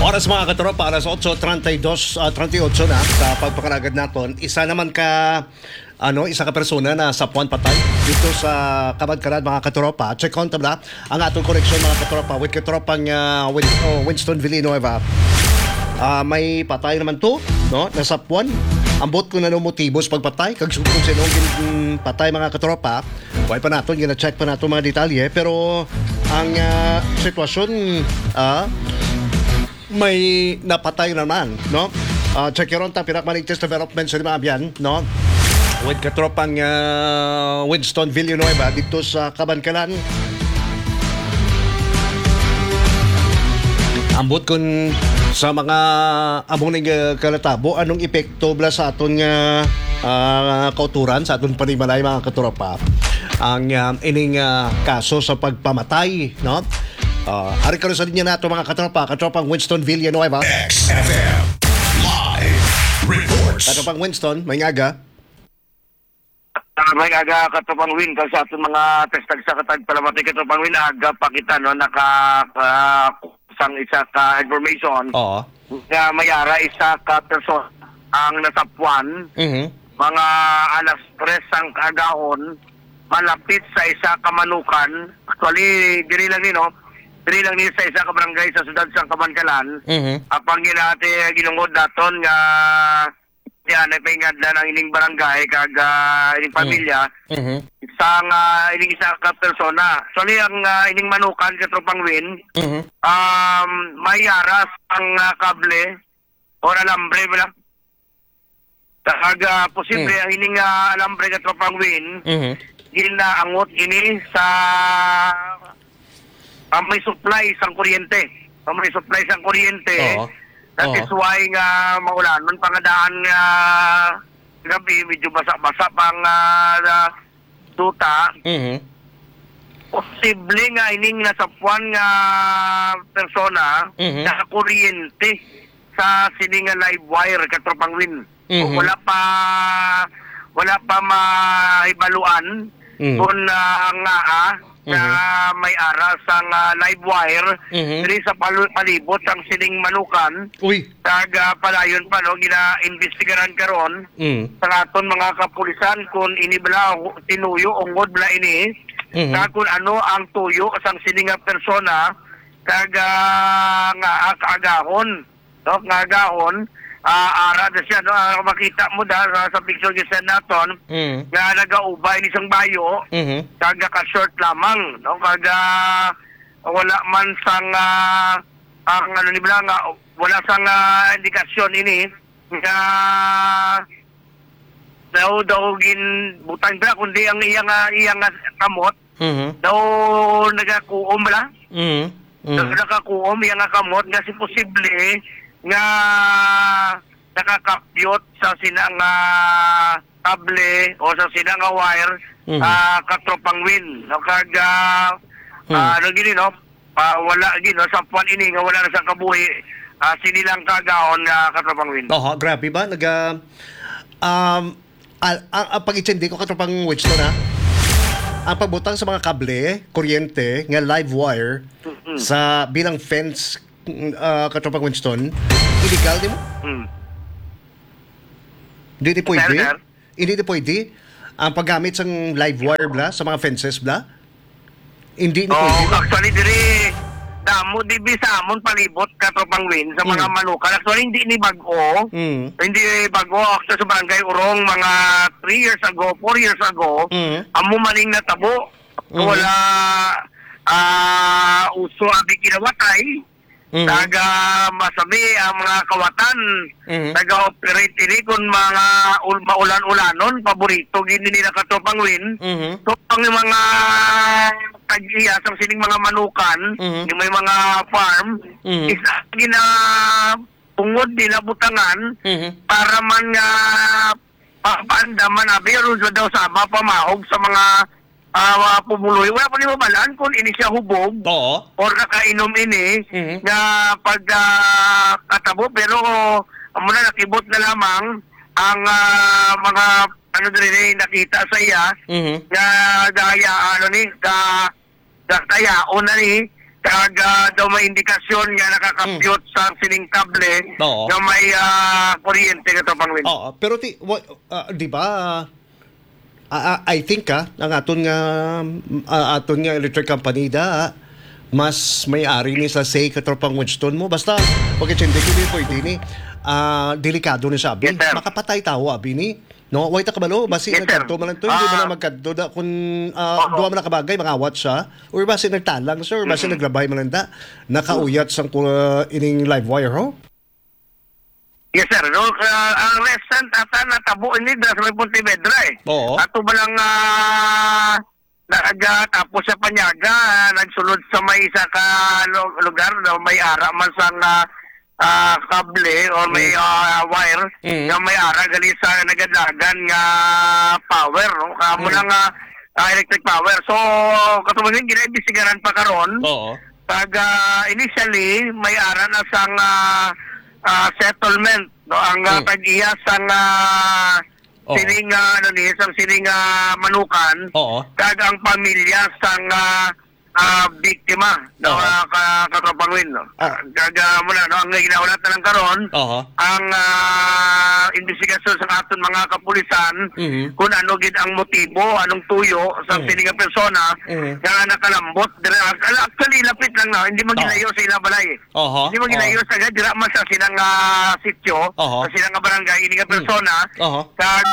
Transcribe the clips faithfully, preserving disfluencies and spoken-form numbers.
Oras, mga katropa, alas otso treinta y dos, ah, treinta y ocho na sa pagpangalagad naton. Isa naman ka, ano, isa ka persona na sapuan patay dito sa Kabankalan, mga katropa. Check on tabla ang atong koneksyon, mga katropa, with katropang, ah, Win-, oh, Winston Villanueva. Ah, may patay naman to, no? Nasapuan. Ambot kung ano motibo sa pagpatay, kag kung sino ang gin-, patay, mga katropa. Wala pa naton, gina-check pa nato mga detalye, pero ang, ah, sitwasyon, ah, may napatay naman, no? Ah, check ron ta, pinakamaligtas development sa Limabian, no? With katropang, ah, Winston Villanueva dito sa Kabankalan. Ambot kun sa mga among ning, ah, kalatabo, anong epekto bala sa aton nga, ah, kauturan, sa aton panimalay, mga katropa? Ang, ah, ining, ah, kaso sa pagpamatay, no? Ah, ari karon sa linya nato, mga katropa, katropang Winston Villanueva. X F M Live Reports. Katropang Winston, may aga. Ah, may aga, katropang Win, kag sa aton mga tagsa-tagsa ka tagpalamati, katropang Win, aga pa kita, no, naka, ah, sang isa ka information Oo. nga may ara isa ka person ang nasapuan, Mhm. mga alas tres sang kaagahon, malapit sa isa ka manukan. Actually, diri lang ni, no? Diri lang ni sa isa ka barangay sa siyudad sang Kabankalan. Mhm. Apang ginati, ginungod daton nga yan, napaingadlan ang ining barangay kag, ah, ining Mm. pamilya Mhm. sa nga ining isa ka persona. Actually, ang, ah, ining manukan, katropang Win, Mhm. um, may aras ang, ah, kable or alambre bala. Kag, ah, posible Mm. ang ining, ah, alambre, katropang Win, Mhm. ginaangot ini sa, ah, may supply sang kuryente. Ah, may supply sang kuryente. Oo. That Oo. is why nga maulanon pa nga daan nga gabi, medyo basa-basa pa nga, ah, duta. Mhm. Posible nga ining nasapuan nga persona Mhm. nakakuryente sa sini nga live wire, katropang Win. Mhm. Wala pa, wala pa mahibaluan Mhm. kung, ah, ngaa nga Mhm. may ara sang, ah, live wire Mhm. diri sa palu-, palibot sang sining manukan. Uy. Kag, ah, padayon pa, no, gina-imbestigaran karon Mm. sa aton mga kapulisan kung ini bala hu-, tinuyo, ungod bala ini, Mhm. kag kung ano ang tuyo sang sini nga persona, kag, ah, nga, ah, kaagahon, no, nga agahon, ah, ara na siya, no, ah, makita mo da sa, sa picture nga send naton, Mm. nga nagaubay ni sang bayo, Mhm. kag naka-short lamang, no, kag, ah, wala man sang, ah, ang ano ni bala nga, wala sang, ah, indikasyon ini nga daw, daw ginbutang bala, kundi ang iya nga, iya nga kamot, Mhm. daw nagakuom bala. Mhm. Daw Mhm. nagakuom iya nga kamot nga si posible nga nakakapyot sa sina nga kable o sa sina nga wire, Mhm. ah, katropang Win, no? Kag, ah, Hmm. ah, ano gini, no? Ah, wala gini, no? Sa puwan ini nga wala na sa kabuhi, ah, sini lang kagaon nga katropang Win. Oho, grabe ba? Naga, um, al-, ang, ang pag-intindi ko, katropang Winston, ha? Ang pagbutang sa mga kable, kuryente, nga live wire, Mm-mm. sa bilang fence, mm, ah, katropang Winston, illegal di mo? Mm. Di, di Sir, pwede? sir? Hindi di pwede? Ang paggamit sang live wire bla, sa mga fences bla? Hindi ni Oo, pwede ba? Actually, diri, damo, di bi sa amon palibot, katropang Win, sa mga Mm. manukan. Actually, hindi ni bag-o. Mm. Hindi bag-o. Actually, sa Barangay Urong, mga three years ago, four years ago, Mm. amo maning natabo. Mm. Wala, ah, uso abi kinawatay. Mm. Taga masami ang mga kawatan. Mm. Taga-operate ini kung mga ul-, maulan-ulanon, paborito gid nila katropang Win. Mhm. So, ang mga tag-iya sa sining mga manukan, Mhm. yung may mga farm, Mhm. is gina-, tungod nila butangan Mhm. para man nga papaandaman abi, aron sa daw sama pamahog sa mga, ah, mga pumuluyo. Wala pa ni mabalaan kung ini siya hubog Oo. or nakainom ini Mhm. nga pag, ah, katabo. Pero amo na, nakibot na lamang ang, ah, mga, ano, diri ni nakita sa iya Mhm. nga gaya, ano ni, ga-, gakayaon na ni Kag, ah, daw may indikasyon nga nakakapyot sa sining kable Oo. nga may, ah, kuryente, Katropang Win. Oo, pero ti-, wa-, ah, di ba, ah, ah, I think, ah, ang aton nga, ah, aton nga electric company da, ah, mas may ari ni sa say, Katropang Winston mo. Basta, pagkachende ko, di pwede ni, ah, delikado ni siya, abi. Yes, sir. Makapatay tawo, abi ni. No, way ta kabalo, basi Yes, sir. nagkadto man lang to, hindi man Ah. lang magkadto da, kung, ah, Oo. duha man nakabagay, mangawat siya, or basi nagtalang siya, or basi Mm-mm. naglabay man lang da, nakauyat sang ku-, ining live wire, ho? Yes, sir. No, ah, ang recent ata natabo ini dira sa may Pontevedra, eh. Oo. Ato ba lang, ah, nag, ah, tapos sa Panyaga, ah, nagsulod sa may isa ka lu-, lugar, no, may ara man sang, ah, ah, kable or may, Mm. ah, wire Mm. nga may ara gali sa nagadagan nga power, no? Kamo Mm. na nga, ah, electric power. So, katong gina-imbestigaran pa karon, Oo. Pag, ah, initially, may ara na sang, ah, ah, settlement, no? Ang, ah, Mm. tag-iya sang, ah, Oh. sining, ah, ano ni, sang sining, ah, manukan, Oo. kag ang pamilya sang, ah, ah, biktima, no? Oo. Ah, ka-, Katropang Win, no? Ah. Kag, ah, muna, no? Ang ginahulat na lang karon, Oo. ang, ah, investigasyon sa aton mga kapulisan, Mhm. kung ano gid ang motibo, anong tuyo sa Mm. sining nga persona, Mhm. nga nakalambot diri. Al-, actually, lapit lang na, hindi man Oo. gilayo sa ila balay. Oho, Hindi man gilayo oho. sa dira man sa silang, ah, sityo, Oho. sa silang nga barangay, ini nga Mm. persona, Oho. kag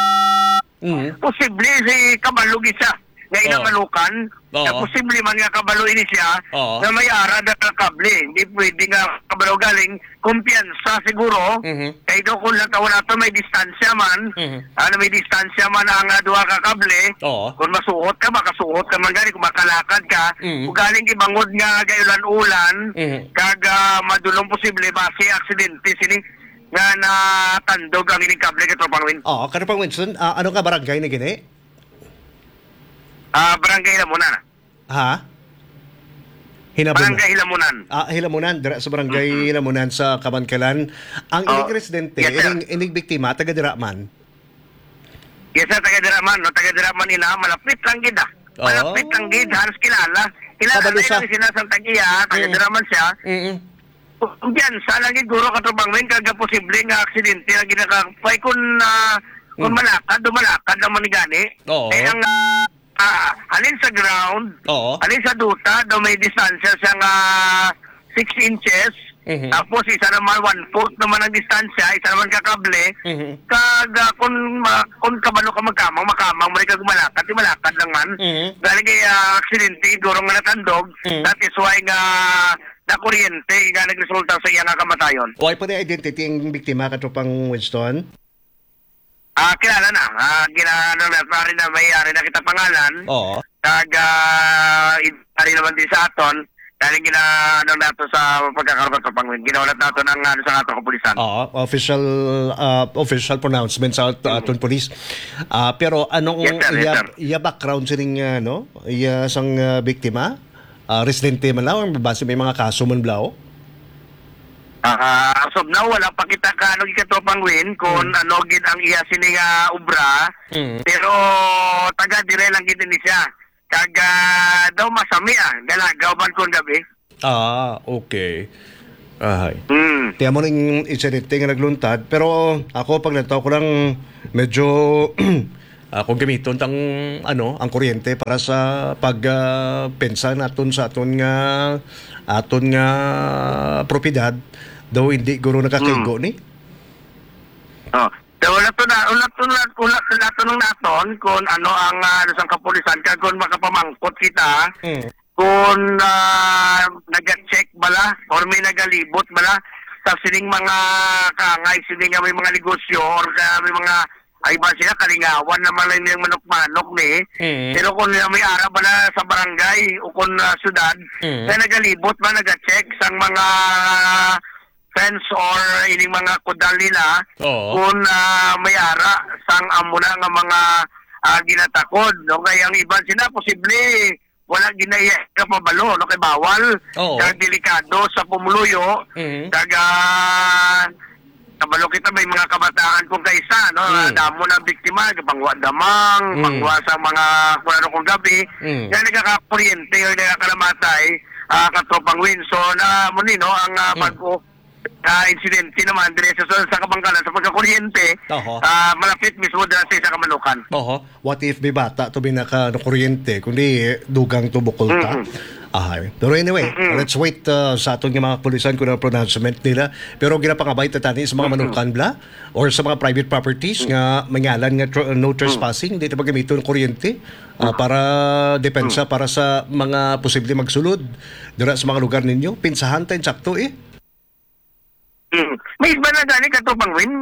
Mm. posible si kabalo gid siya nga ilang Oo. manukan, Oo. na posible man nga kabalo ini siya, Oo. nga may ara da ka kable. Hindi pwede nga kabalo galing, kumpiyansa siguro, Mhm. kay do kung lang tawon nato may distansya man, Mhm. Ano, may distansya man ang, ah, duha ka kable. Oo. Kung masuot ka, makasuot ka man gani, kung makalakad ka. Mm. Kung galing kay bangod nga gayulan-ulan, Mm. kag, ah, madulong posible, basi aksidente sini nga natandog ang ining kable, Katropang Win. Oo, Katropang Winston, ah, ano nga barangay ni gini? Ah, Barangay Lamunan. Ha? Hinabon na. Barangay Hilamunan. Ah, Hilamunan, dira sa Barangay Mm-mm. Hilamunan sa Kamankalan. Ang Oh, ining residente, yes, sir. ining, ining biktima, taga dira man? Yes, sir, taga dira man, no? Taga dira man ina, malapit lang gid, ah. Oo. Malapit lang gid, halos kilala. Kilala Kabalo na siya. lang sila sa tag-iya, taga Mm. dira man siya. Mm-mm. Kumpiyansa lang gid, guro, Katropang Win, kag posible nga aksidente ang ginakapay kung, ah, kung Mm. malakad, dumalakad naman gani. Oo. Eh, ang, ah, halin sa ground, Oo. halin sa duta, daw may distansya siya nga six inches. Mhm. Tapos isa naman, one foot naman ang distansya, isa naman ka kable. Mhm. Kag, ah, kung ma-, kung kabalo ka magkamang, makamang mo rin kag malakad, di malakad lang man. Mhm. Galing kay, ah, aksidente, guro nga natandog. Mhm. That is why nga nakuryente nga nagresulta sa iya nga kamatayon. Why pa na identity ang biktima, Katropang Winston? Ah, kilala na. Ah, gina-, ano na, pare na, may ari na kita pangalan. Oo. Kag, ah, i-, ari naman din sa aton. Dahil gina-, ano nato sa pagkakaroon sa pangwin. Ginawalat nato ng, ano, sa ato kapulisan. Oo, official, ah, official pronouncement sa at-, Mm. aton police. Ah, pero anong Yes, sir. Yes, iya, sir. iya background sining, ano, iya sang, ah, biktima? Ah, residente man lang, base may mga kaso man bala, oh? Ah, as of now, wala pa kita ka, ano, gid, Katropang Win, kung Mm. ano gid ang iya sini nga obra. Mm. Pero taga dire lang gid ni siya. Taga daw Masami, ah, Galagaw man kung gabi. Ah, okay. Ahay. Mm. Ti amo ning insidente nga nagluntad, pero ako, pag nataw ko lang, medyo, ah, kung gamiton tang, ano, ang kuryente para sa pag, ah, pensa naton sa aton nga, aton nga propiedad, daw hindi guro nakakaigo Mm. ni? Oh. So, wala to na, wala to na, wala, wala to nang naton kung ano ang, ah, ano sang kapulisan, kag kung makapamangkot kita, Mm. kung, ah, naga-check bala or may nagalibot bala sa sining mga kaangay, sini nga may mga negosyo or ka, may mga, ay ba sila, kalingawan naman lang yung manok-manok ni. Mm. Pero kung may ara bala sa barangay o kung, ah, syudad, Mm. na nagalibot ba, naga-check sang mga fence or ining mga kudal nila Oo. kung, ah, may ara sang amo na nga mga, ah, ginatakod, no? Kay ang iban sila posible wala ginaiya ka pabalo, no? Kay bawal, Oo. kag delikado sa pumuluyo, Mhm. kag, ah, kabalo kita may mga kabataan kung kaisa, no? Mm. Damo na biktima, pangwa damang, Mm. pangwa sa mga kung ano kung gabi, Mm. nga nagkakakuryente o nagkakalamatay, ah, Katropang Win. So, na mo ni, no, ang, ah, Mm. bago, ah, insidente naman dire sa, sa, sa Kabankalan sa pagkakuryente, Oho. ah, malapit mismo dira sa isa ka manukan. Oho. What if may bata to, may naka-, nakuryente, kundi dugang to, bukol ta? Mm-mm. Ahay. Pero anyway, Mm-mm. let's wait, uh, sa aton nga mga kapulisan kung ano ang pronouncement nila. Pero ginapangabay ta tani sa mga Mm-mm. manukan bala or sa mga private properties Mm. nga mangalan nga tr-, no Mm. trespassing, hindi ta pagamiton ang kuryente, ah, Mm. para depensa, Mm. para sa mga posible magsulod dira sa mga lugar ninyo. Pinsahan ta insakto, eh. Mm. May iba na gani, Katropang Win.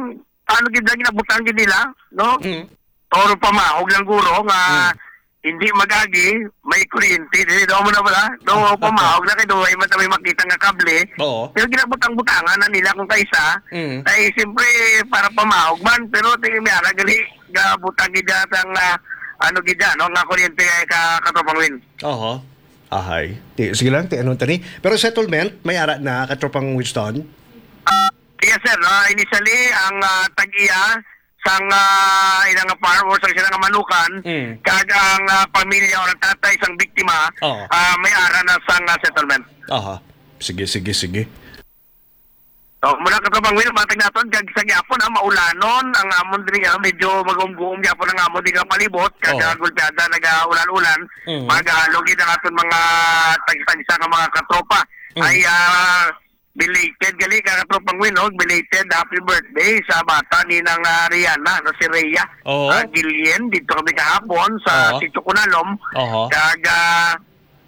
Ano gid ang ginabutang gid nila, no? Mm. Or pamahog lang guro nga Mm. hindi mag-agi, may kuryente. Dili daw mo na wala. No, Oo. pamahog na kay daw, ay man may makita nga kable. Oo. Pero ginabutang-butangan na nila kung kaisa. Mm. Ay, siyempre, para pamahog man. Pero tingin may ara gali, gabutang gid ang, ah, ano gid, no, nga kuryente kay ka, Katropang Win. Oho. Ahay. Ti-, sige lang, ti-, ano tani? Pero settlement, may ara na, Katropang Winston? Ah, yes, sir. Ah, initially, ang, ah, tag-iya sang, ah, ila nga farm or sa sila nga manukan, Mm. kag ang, ah, pamilya or ang tatay sang biktima, Oo. ah, may ara na sang, ah, settlement. Aha. Sige, sige, sige. So, muna, Katropang Will, matag naton, kag sa gyapon, ah, maulanon ang amon diri, ah, medyo mag-umguom gyapon ang amon diri nga palibot, kag, Oo. ah, gulpiada, nag-aulan-ulan, Mm. mag-aalog gid ang aton mga tagsa-tagsa nga mga katropa. Mm. Ay, ah, belated gali ka, Katropang Will, no? Belated happy birthday sa bata ni nang, ah, Rihanna, no, si Rhea, Oo. ah, Guillen. Dito kami kahapon sa Oo. Sitio Kunalom. Oho. Kag, ah,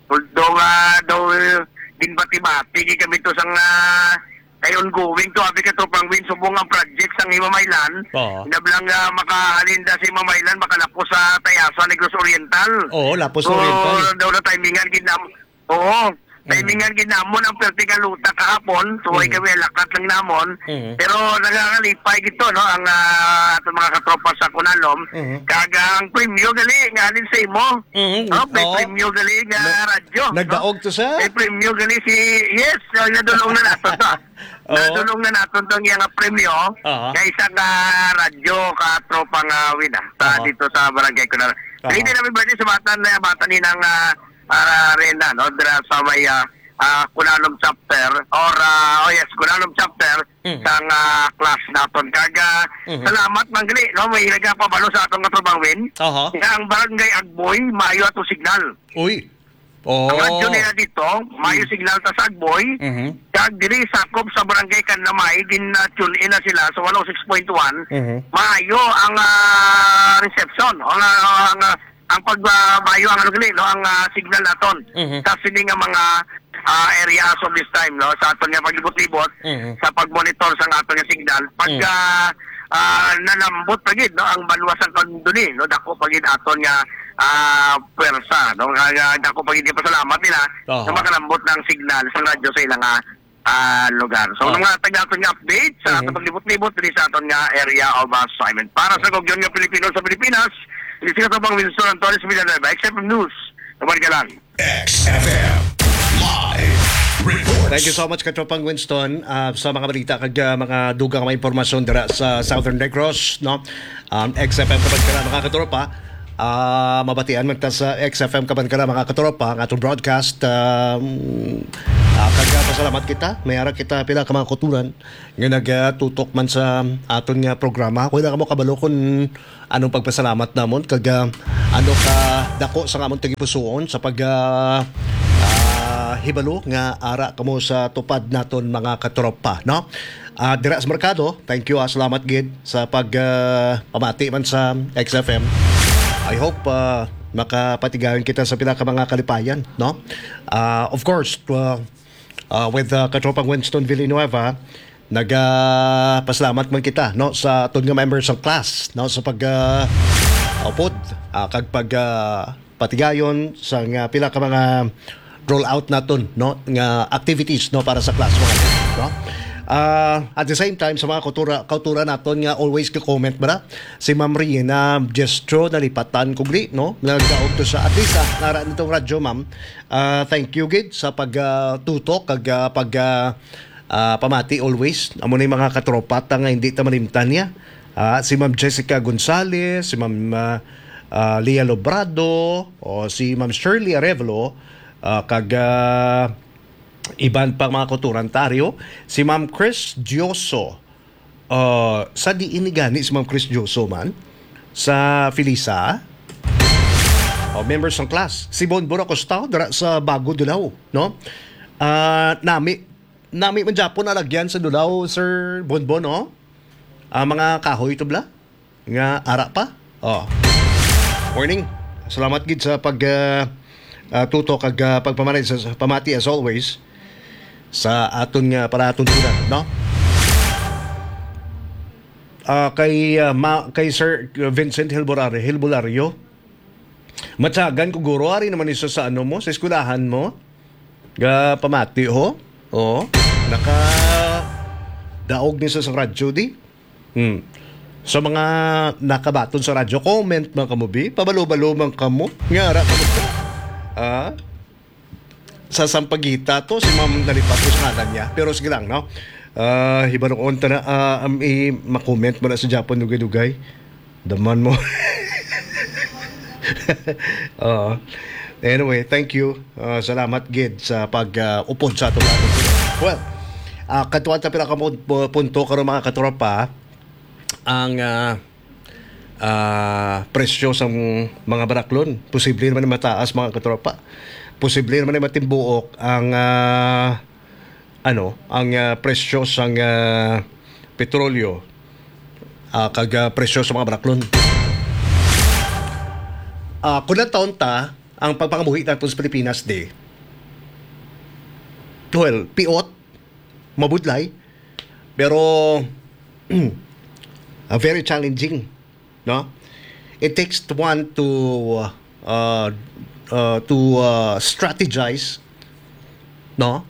Although nga daw, eh, ginbati-bati gid kami to sang, ah, kay ongoing to, abi, Katropang Win, subong ang project sang Himamaylan. Oo. Nablang nga makahalin da sa Himamaylan, makalapos sa Tayasa, Negros Oriental. Oo, lapos So, Oriental. daw na timingan gid nam-, oo, Mm. timingan gid namon ang perti nga luta kahapon. So, ay Mm. kami lakat lang namon. Mm. Pero nangangalipay gid to, no, ang, ah, atong mga katropa sa Kunalom. Mm. Kag ang premyo gali nga alin sa imo? Mm, Oh, may oo. premyo gali nga Na-, radyo, no? nagdaog to sa? May premyo gali si, yes, so, nadulong na naton to. Oo. Nadulong na naton to nga premyo Aha. nga isa ka radyo ka tropa nga win, ah, sa Aha. dito sa barangay ko na. Aha. Hindi na may birthday sa bata na, bata ni nang, ah, ah, Rena, no? Dira sa may, ah, ah, Kulalom chapter or, ah, oh yes, Kulalom chapter Mhm. sang, ah, class naton. Kag, ah, Mhm. salamat man gali, no? May nagapabalo sa atong katropa Win. Aha. Nga ang barangay Agboy, maayo ato signal. Uy. Ang radyo Oh. nila dito, maayo Hmm. signal ta sa Agboy. Mhm. Kag diri sakop sa barangay Kanlamay, gin, ah, tune in na sila sa one oh six point one. Mhm. Maayo ang, ah, reception. Ang, ah, ang, ah, ang pag, ah, maayo ang ano gali, no, ang, ah, signal naton Mhm. sa sini nga mga, ah, area as of this time, no, sa aton nga paglibot-libot, Mhm. sa pag-monitor sa aton nga signal. Pag, Mhm. ah, ah, nalambot pa gid, no, ang banwa sa Kanduni, no, dako pa gid aton nga, ah, pwersa, no, nga, nga dako pa gid pasalamat nila Aha. nga makalambot na ang signal sa radyo sa ilang, ah, ah, lugar. So, Oh. mga taga aton nga update sa Mhm. aton paglibot-libot diri sa aton nga area of assignment. Para sa Gugyon nga Pilipino sa Pilipinas, ini si Katropang Winston Antonio sa Villanueva, X F M News. Naman ka lang. X F M Live Reports. Thank you so much, Katropang Winston, ah, sa mga balita kag, ah, mga dugang nga mga impormasyon dira sa Southern Negros, no? Um, X F M Kabankara, mga katropa. Ah, mabatian man ta sa X F M Kabankara, mga katropa, ang atong broadcast. Um, ah, kag, ah, pasalamat kita. May ara kita pila ka mga kauturan nga nagatutok man sa aton nga programa. Ako lang mo kabalo kung anong pagpasalamat namon kag, ah, ano ka dako sa amon tagipusoon sa pag, ah, ah, hibalo nga ara kamo sa tupad naton, mga katropa, no? Ah, dira sa merkado, thank you, ah, salamat gid sa pag, ah, pamati man sa X F M. I hope, ah, makapatigayon kita sa pila ka mga kalipayan, no? Ah, of course, uh, uh, with, uh, Katropang Winston Villanueva, nagapasalamat man kita, no, sa aton nga members sang class, no, sa pag, uh, upod, uh, kag pag, uh, patigayon sa nga pila ka mga roll out naton, no, nga activities, no, para sa class, mga, no. Uh, at the same time, sa mga kautura, kautura naton nga always ka-comment, bra, si Ma'am Riena Jestro, nalipatan ko gli, no, nagdaog to sa, at least, ah, nara nitong radyo, ma'am. Ah, thank you gid sa pag, ah, tutok kag, ah, pag, ah, ah, pamati always. Amo ni mga katropa ta nga hindi ta malimtan niya. Ah, si Ma'am Jessica Gonzalez, si Ma'am, ah, ah, Leah Lobrado, o si Ma'am Shirley Arevalo, ah, kag, ah, Iban pa mga kauturan, Tario, si Ma'am Chris Dioso. Ah, sa diin ni gani si Ma'am Chris Dioso man? Sa Felisa? O, members ng class. Si Bonbon Acosta, dira sa Bago, Dulao, no? Ah, nami, nami man gyapon alagyan sa Dulao, Sir Bonbon, no? Ah, mga kahoy to bla? Nga ara pa? Oh. Morning. Salamat gid sa pag, ah, ah, tutok kag, ah, pagpamati sa, sa pamati as always sa aton nga palatuntunan, no? Ah, kay, ah, ma-, kay Sir Vincent Hilborare-, Hilbolario, matyagan ko, guro, ari naman isa sa ano mo, sa eskwelahan mo. Ga pamati, ho? Oo. Naka daog ni sa, sa radyo, di? Hmm. Sa mga nakabaton sa radyo, comment man kamo, bi. Pabalo-balo man kamo. Nga ara kamo ka. Ah? Sa Sampaguita to, si Ma'am nalipat ko sa ngalan niya. Pero sige lang, no? Ah, hibaroon ta na, ah, am, i-, ma-comment mo na sa Japon, dugay-dugay. Daman mo. Oo. Anyway, thank you. Ah, salamat gid sa pag, ah, upod sa ato. Well, ah, katuan ta pila ka pun-, pu-, punto karon, mga katropa. Ang, ah, ah, presyo sang mga baraklon. Posible naman na mataas, mga katropa. Posible naman na matimbuok ang, ah, ano, ang, ah, presyo sang, ah, petrolyo, ah, kag, ah, presyo sa mga baraklon. Ah, kung lang taon ta, ang pagpangabuhi naton sa Pilipinas, di, well, piot, mabudlay, pero, ah, very challenging, no? It takes one to, uh, uh, to, uh, strategize, no?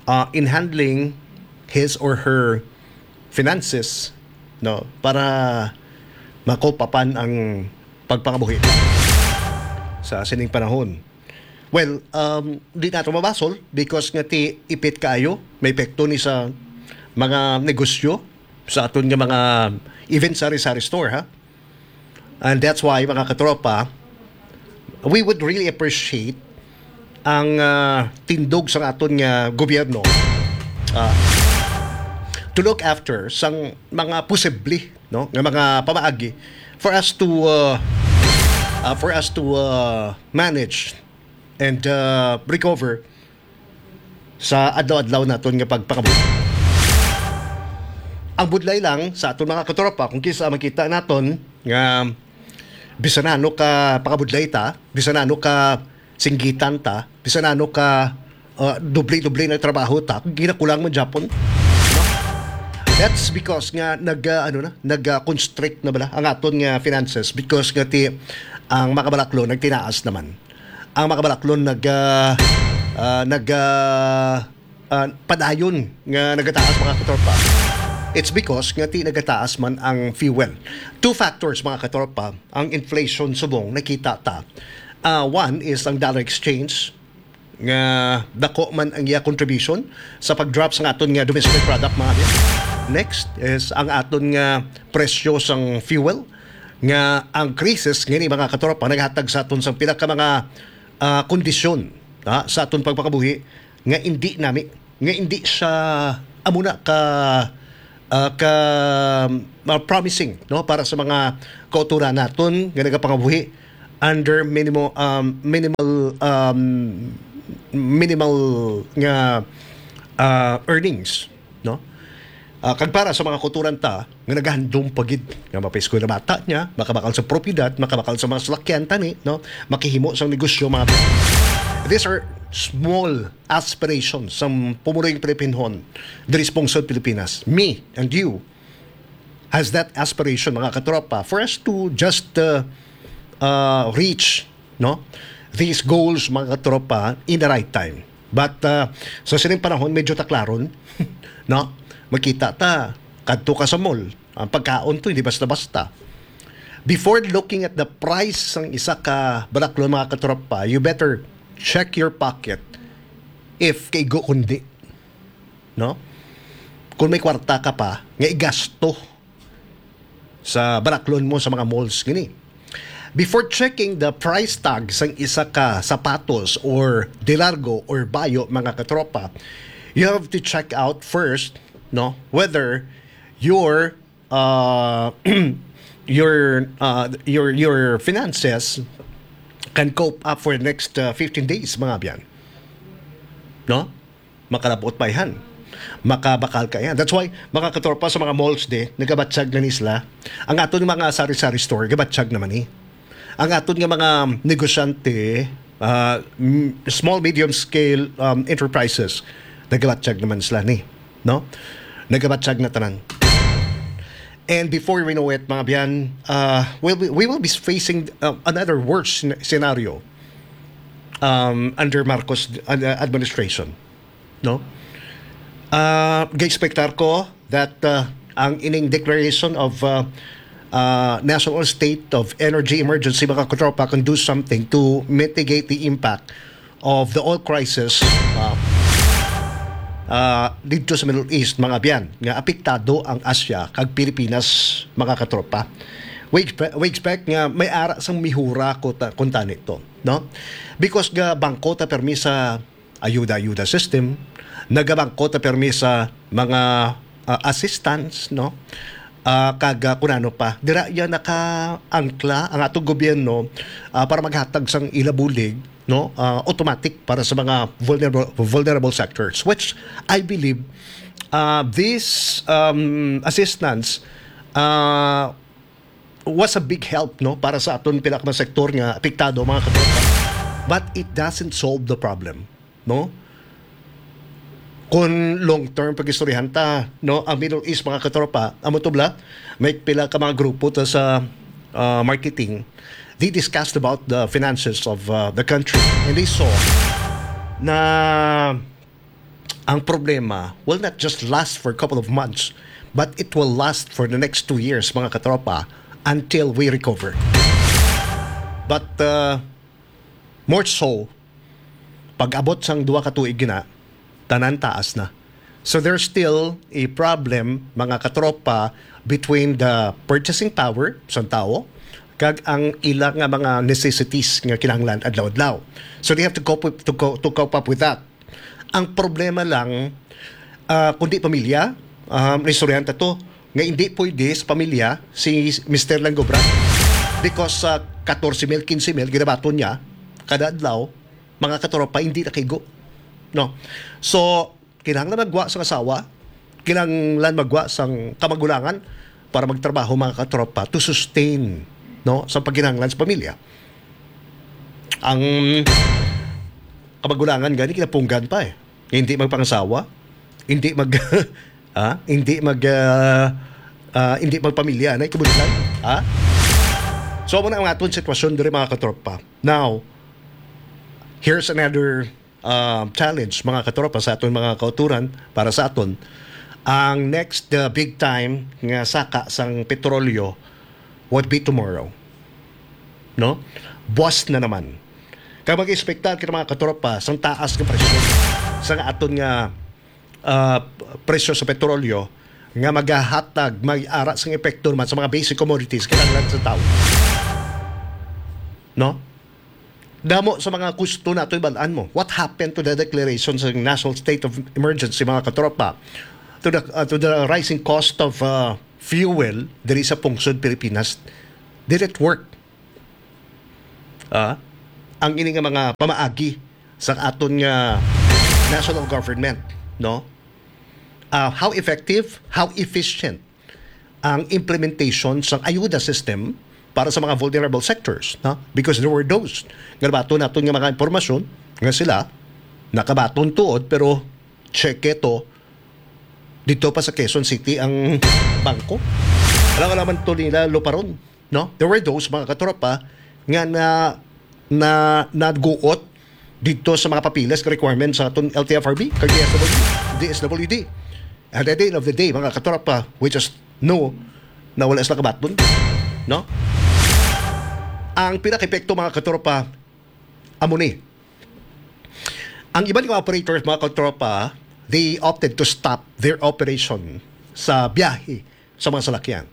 Uh, in handling his or her finances, no? Para makopapan ang pagpangabuhi sa sining panahon. Well, um, di nato mabasol because nga ti ipit kaayo, may epekto ni sa mga negosyo, sa aton nga mga, even sari-sari store, ha? And that's why, mga katropa, we would really appreciate ang, ah, tindog sa aton nga gobyerno, ah, to look after sang mga posible, no, nga mga pamaagi for us to, ah, ah, for us to, ah, manage and, ah, recover sa adlaw-adlaw naton nga pagpangabuhi. Ang budlay lang sa aton mga katropa, kung kinsa makita naton nga bisan ano ka pakabudlay ta, bisan ano ka singgitan ta, bisan ano ka, uh, doble-doble na trabaho ta, kung ginakulang man gyapon, no? That's because nga nag, uh, ano na, nag, uh, constrict na bala ang aton nga finances because nga ti ang mga kabalaklon nagtinaas naman. Ang mga kabalaklon nag, ah, ah, nag, ah, ah, padayon nga nagataas, mga katropa. It's because nga ti nagataas man ang fuel. Two factors, mga katropa, ang inflation subong nakita ta. Ah, one is ang dollar exchange nga dako man ang iya contribution sa pag-drop sa aton nga domestic product, mga kabyan. Next is ang aton nga presyo sang fuel nga ang krisis ngini, mga katropa, naghatag sa aton sang pila ka mga, ah, kondisyon, ha, sa aton pagpakabuhi nga indi nami, nga indi siya amo na ka, ah, ka, ah, promising, no, para sa mga kauturan naton nga nagapangabuhi under minimal, um, minimal, um, minimal nga, ah, earnings, no? Ah, kag para sa mga kauturan ta nga nagahandom pa gid nga mapaeskwela bata niya, makabakal sa propiedad, makabakal sa mga salakyan tani, no? Makahimo sang negosyo, mga, these are small aspirations sang pumuloy nga Pilipinhon diri sa pungsod Pilipinas. Me and you has that aspiration, mga katropa, for us to just, uh, uh, reach, no, these goals, mga katropa, in the right time. But, uh, sa sining panahon, medyo taklaron, no? Makita ta, kadto ka sa mall, ang pagkaon to, hindi basta-basta. Before looking at the price sang isa ka baraklon, mga katropa, you better check your pocket if kaigo kundi, no? Kung may kwarta ka pa nga igasto sa baraklon mo sa mga malls gini. Before checking the price tag sang isa ka sapatos or de largo or bayo, mga katropa, you have to check out first, no, whether your uh, your uh, your your finances can cope up for the next uh, fifteen days, mga abyan. No? Makalabot pa yan. Makabakal ka yan. That's why, mga katropa, sa mga malls di, nagabatyag na ni sila. Ang aton mga sari-sari store, gabatyag naman ni. Ang aton nga mga negosyante, uh, m- small, medium scale um, enterprises, nagabatyag naman sila ni. No? Nagabatyag na tanan. And before we know it, mga abyan, uh, we'll be, we will be facing uh, another worse scen- scenario um, under Marcos uh, administration. No? Uh, ga-expectar ko that uh, ang ining declaration of uh, uh, national state of energy emergency, mga katropa, can do something to mitigate the impact of the oil crisis uh, uh, dito sa Middle East, mga abyan, nga apektado ang Asia kag Pilipinas, mga katropa. We expect, we expect nga may ara sang mihura ko ta, kung tani to, no? Because nga bangko ta permi sa ayuda-ayuda system, nagabangko ta permi sa mga uh, assistance, no? Uh, kag uh, kung ano pa, dira iya nakaangkla ang atong gobyerno uh, para maghatag sang ila bulig, no, uh, automatic para sa mga vulnerable vulnerable sectors, which I believe uh, this um, assistance uh, was a big help, no, para sa aton pila ka mga sektor nga apektado, mga katropa, but it doesn't solve the problem, no? Kung long term pag-istoryahan ta, no, ang Middle East, mga katropa, amo to bala, may pila ka mga grupo ta sa uh, marketing. They discussed about the finances of uh, the country, and they saw na ang problema will not just last for a couple of months, but it will last for the next two years, mga katropa, until we recover. But uh, more so, pag-abot sang duha ka tuig gina, tanan taas na. So there's still a problem, mga katropa, between the purchasing power sang tawo kag ang ila nga mga necessities nga kinahanglan adlaw-adlaw. So they have to cope with, to, co- to cope up with that. Ang problema lang, ah, kundi pamilya, um, naistoryahan ta to, nga hindi pwede sa pamilya si Mister Langobra because sa katorse mil, kinse mil ginabaton niya kada adlaw, mga katropa, hindi nakaigo, no? So, kinahanglan magwa sang asawa, kinahanglan magwa sang kamagulangan para magtrabaho, mga katropa, to sustain, no, sa pagkinahanglan sa pamilya. Ang kamagulangan gani kinapunggan pa eh. Hindi magpangasawa, hindi mag ah, hindi mag ah, ah, hindi magpamilya na ikabudlan, ha? So amo na ang aton sitwasyon diri, mga katropa. Now, here's another uh, challenge, mga katropa, sa aton mga kauturan, para sa aton. Ang next uh, big time nga saka sang petrolyo would be tomorrow. No? Buwas na naman. Kag mag-expectar kita, mga katropa, sang taas nga presyo sang aton nga uh, presyo sa petrolyo nga magahatag, mag-ara sang epekto naman sa mga basic commodities kinahanglan sa tawo. No? Damo sa mga gusto nato ibal-an mo. What happened to the declaration sa national state of emergency, mga katropa? To the, uh, to the rising cost of uh, fuel diri sa pungsod Pilipinas? Did it work? Ah, ang ini nga mga pamaagi sa aton nga national government, no? Ah, how effective, how efficient ang implementation sang ayuda system para sa mga vulnerable sectors, no? Because there were those nga nabaton naton nga mga impormasyon nga sila nakabaton tuod, pero cheque to dito pa sa Quezon City ang bangko. Alam naman to nila luparon, no? There were those, mga katropa, nga na na naguot dito sa mga papeles, requirements sa aton L T F R B, kag D S W D, D S W D. And at the end of the day, mga katropa, we just know na wala sila kabaton, no? Ang pinaka-epekto, mga katropa, amo ni. Ang iban nga operators, mga katropa, they opted to stop their operation sa biyahe sa mga salakyan.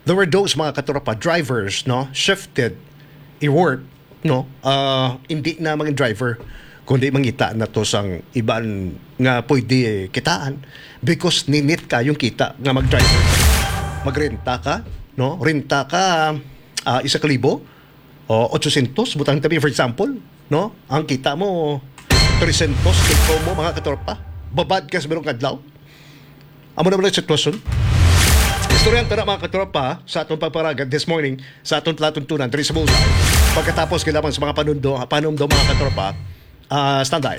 There were those, mga katropa, drivers, no, shifted i-work, no, ah, hindi na mga driver, kundi mangita na to sang iban nga pwede kitaan because ninit kayong kita nga mag-driver. Magrenta ka, no? Renta ka, ah, isa ka libo o otsosyentos, butang tabi, for example, no? Ang kita mo, tresyentos, take home mo, mga katropa. Babad ka sa bilog adlaw. Amo naman ang sitwasyon. Istorya ang tana, mga katropa, sa atong pagparagad this morning, sa atong palatuntunan, diri sa Bullseye. Pagkatapos, kailangan sa mga panundo, panundo, mga katropa, ah, standby.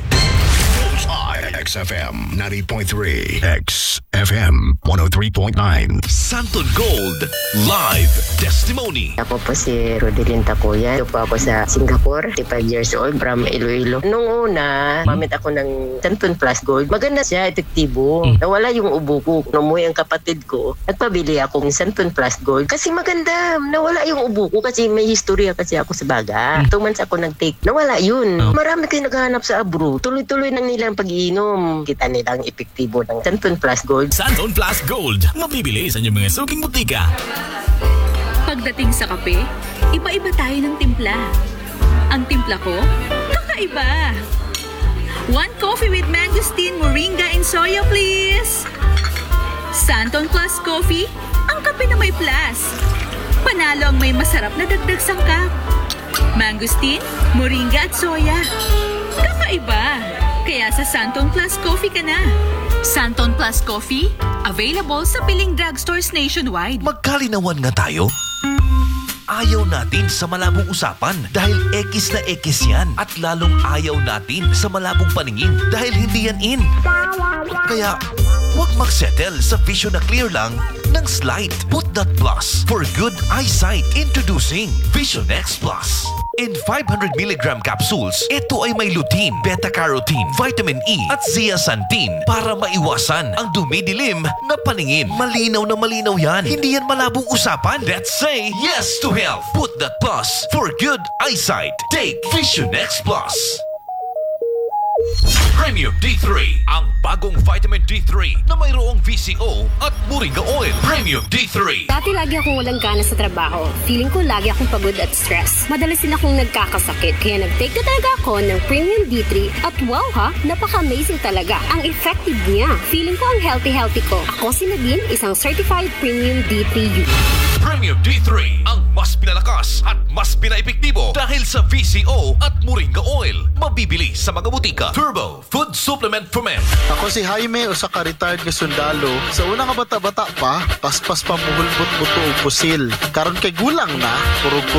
Bullseye, X F M ninety point three, X F M one oh three point nine. Santon Gold Live Testimony. Ako po si Rodelin Takuya. Ito po ako sa Singapore, thirty-five years old, from Iloilo. Nung una, gamit ako ng Santon Plus Gold. Maganda siya, epektibo. Mm. Nawala yung ubo ko. Nung umuwi ang kapatid ko, nagpabili ako ng Santon Plus Gold. Kasi maganda, nawala yung ubo ko kasi may historia kasi ako sa baga. Mm. Two months ako nag-take. Nawala yun. Oh. Marami kayo naghahanap sa abroad. Tuloy-tuloy nang nilang pag-iinom. Kita nilang epektibo ng Santon Plus Gold. Santon Plus Gold, mabibili sa inyong mga suking butika. Pagdating sa kape, iba-iba tayo ng timpla. Ang timpla ko, kakaiba. One coffee with mangosteen, moringa, and soya, please. Santon Plus Coffee, ang kape na may plus. Panalo ang may masarap na dagdag sangkap. Mangosteen, moringa at soya. Kakaiba! Kaya sa Santon Plus Coffee ka na. Santon Plus Coffee, available sa piling drugstores nationwide. Magkalinawan nga tayo. Ayaw natin sa malabong usapan dahil ekis na ekis yan at lalong ayaw natin sa malabong paningin dahil hindi yan in. Kaya, huwag magsettle sa vision na clear lang ng slight. Put that plus for good eyesight. Introducing Vision X Plus. In five hundred milligram capsules, ito ay may lutein, beta-carotene, vitamin E, at zeaxanthin para maiwasan ang dumidilim na paningin. Malinaw na malinaw yan. Hindi yan malabong usapan. Let's say yes to health. Put that plus for good eyesight. Take Vision X Plus. Premium D three, ang bagong vitamin D three na mayroong V C O at moringa oil. Premium D three. Dati lagi akong walang gana sa trabaho. Feeling ko lagi akong pagod at stress. Madalas din akong nagkakasakit. Kaya nag-take na talaga ako ng Premium D three at wow ha, napaka-amazing talaga. Ang effective niya. Feeling ko ang healthy-healthy ko. Ako si Nadine, isang certified Premium D three user. Premium D three, ang mas pinalakas at mas pinaepektibo dahil sa V C O at moringa oil. Mabibili sa mga butika. Turbo Food Supplement for Men. Ako si Jaime, usa ka retired nga sundalo. Sa una nga bata-bata pa, paspas pa muhulbot buto og pusil. Karon kay gulang na, kurog-kurog